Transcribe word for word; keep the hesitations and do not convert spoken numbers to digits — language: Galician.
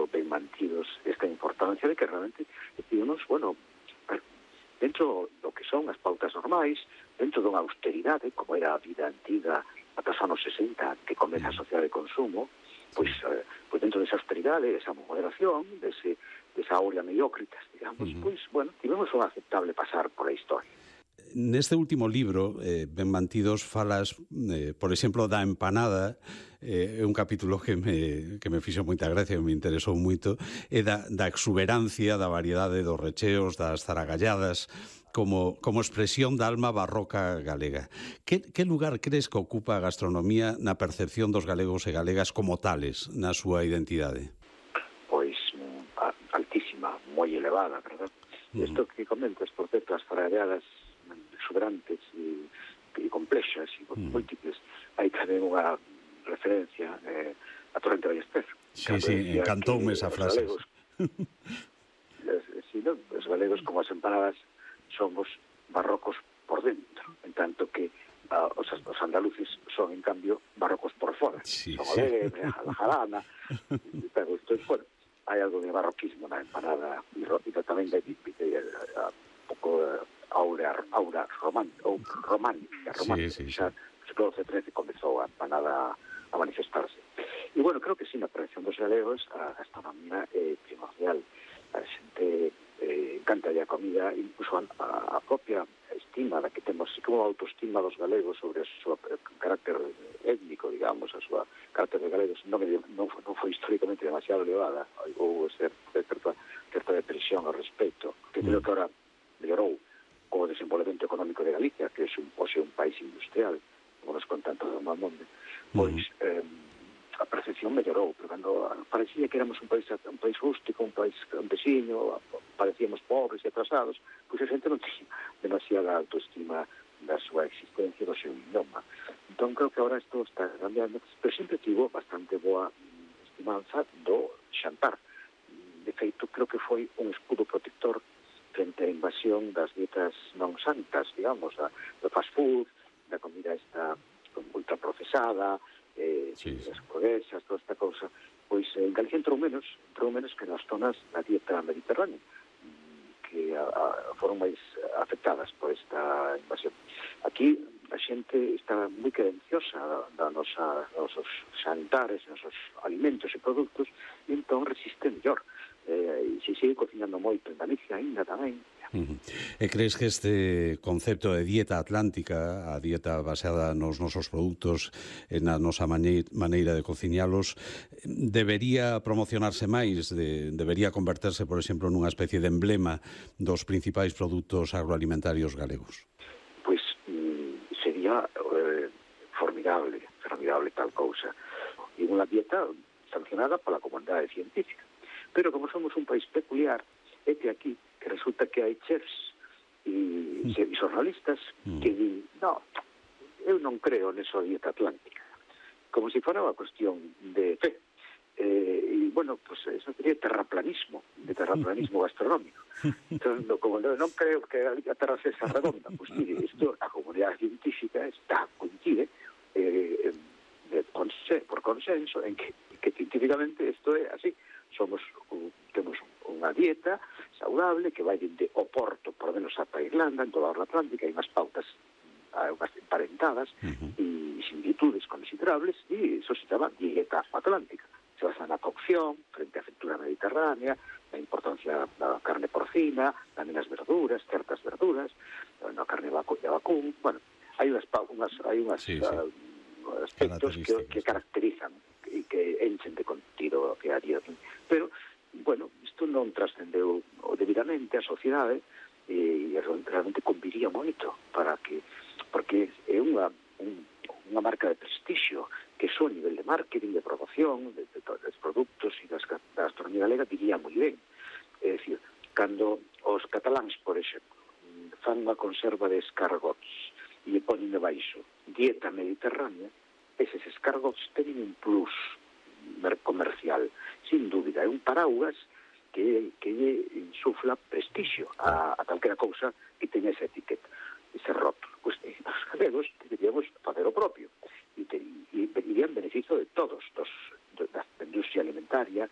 do ben mantidos esta importancia de que realmente decidimos, bueno, dentro do que son as pautas normais, dentro dunha austeridade, como era a vida antiga ata os anos sesenta, que comeza a sociedade de consumo, pois, eh, pois dentro desa austeridade, desa moderación, dese, desa aurea mediocritas, digamos, uh-huh. pois, bueno, tivemos un aceptable pasar por a historia. Neste último libro, eh, Ben Mantidos, falas, eh, por exemplo, da empanada, é eh, un capítulo que me, que me fixo moita gracia, que me interesou moito, e da, da exuberancia, da variedade dos recheos, das zaragalladas, como, como expresión da alma barroca galega. Que, que lugar crees que ocupa a gastronomía na percepción dos galegos e galegas como tales, na súa identidade? Pois, altísima, moi elevada, verdad? Uh-huh. Isto que comentas, por certo, as zaragalladas exuberantes e, e complexas e mm. múltiples. Hai tamén unha referencia eh, a Torrente Ballester. Sí, sí, encantoume esa frase. Galegos, sí, no, os galegos, como as empanadas, somos barrocos por dentro, en tanto que uh, os, os andaluces son, en cambio, barrocos por fora. Sí, son sí. alegre, a la jarana, pero isto, bueno, hai algo de barroquismo na empanada e, e tamén de, de, de, de a, a pouco uh, aura, aura romántica, ou romántica, romántica. Sí, sí, sí. Xa, no século trece comezou a empanada a manifestarse. E, bueno, creo que sí, na prevención dos galegos, a gastronomía é primordial. A xente eh, encanta a comida, incluso a, a propia estima da que temos, así como a autoestima dos galegos sobre o seu carácter étnico, digamos, a súa carácter de galegos, non, non, non foi históricamente demasiado elevada, ou certa, certa depresión ao respecto, que creo que ahora mellorou o desenvolvemento económico de Galicia, que é un, hoxe un país industrial, como nos contan todo o mundo, pois uh-huh. eh, a percepción mellorou, pero cando parecía que éramos un país un país rústico, un país campesino, parecíamos pobres e atrasados, pois a xente non tinha demasiada autoestima da súa existencia, do seu idioma. Entón, creo que agora isto está cambiando, pero sempre tivo bastante boa estimanza do xantar. De feito, creo que foi un escudo protector frente á invasión das dietas non santas, digamos, da, do fast food, da comida esta ultraprocesada, eh, sí, sí. as hamburguesas, toda esta cousa, pois en Galicia entrou menos, entrou menos que nas zonas da dieta mediterránea, que a, a, foron máis afectadas por esta invasión. Aquí a xente está moi querenciosa da nosa, dos nosos xantares, nosos alimentos e produtos, e entón resiste mellor. Eh, e se sigue cocinando moito en Galicia ainda tamén. Uh-huh. E crees que este concepto de dieta atlántica, a dieta baseada nos nosos produtos e na nosa maneira de cociñalos, debería promocionarse máis, de, debería converterse, por exemplo, nunha especie de emblema dos principais produtos agroalimentarios galegos? Pois mm, sería eh, formidable, formidable tal cousa. E unha dieta sancionada pola comunidade científica. Pero como somos un país peculiar, é que aquí que resulta que hai chefs e, mm. e xornalistas mm. que di, no, eu non creo nesa dieta atlántica, como se fora unha cuestión de fe. Eh, e, bueno, pues eso sería terraplanismo, de terraplanismo gastronómico. Entón, no, como non, non creo que a terra sexa redonda, pues mire, isto, a comunidade científica está, coincide, eh, de, conse, por consenso, en que, que científicamente isto é así. Somos, temos unha dieta saudable que vai de Oporto, por lo menos ata Irlanda, en toda a Atlántica, hai unhas pautas unhas emparentadas uh-huh. e similitudes considerables, e iso se chama dieta atlántica. Se basa na cocción, frente á fritura mediterránea, na importancia da carne porcina, tamén as verduras, certas verduras, na carne de vacún, bueno, hai unhas, unhas, hai unhas sí, sí. Uh, aspectos que, que caracterizan e que enchen de contido que a día de hoy. Pero, bueno, isto non trascendeu debidamente a sociedade e realmente conviría moito para que, porque é unha, un, unha marca de prestixio que só a nivel de marketing, de promoción, de, de, de, dos produtos e das, da gastronomía galega diría moi ben. É dicir, cando os cataláns, por exemplo, fan unha conserva de escargots e ponen de baixo dieta mediterránea, eses escargots teñen un plus comercial, sin dúbida, é un paraugas que, que insufla prestixio a, a calquera cousa que teña esa etiqueta, ese rótulo. Pois pues, os galegos deberíamos facer o propio e, te, e, e irían beneficio de todos, dos, da industria alimentaria,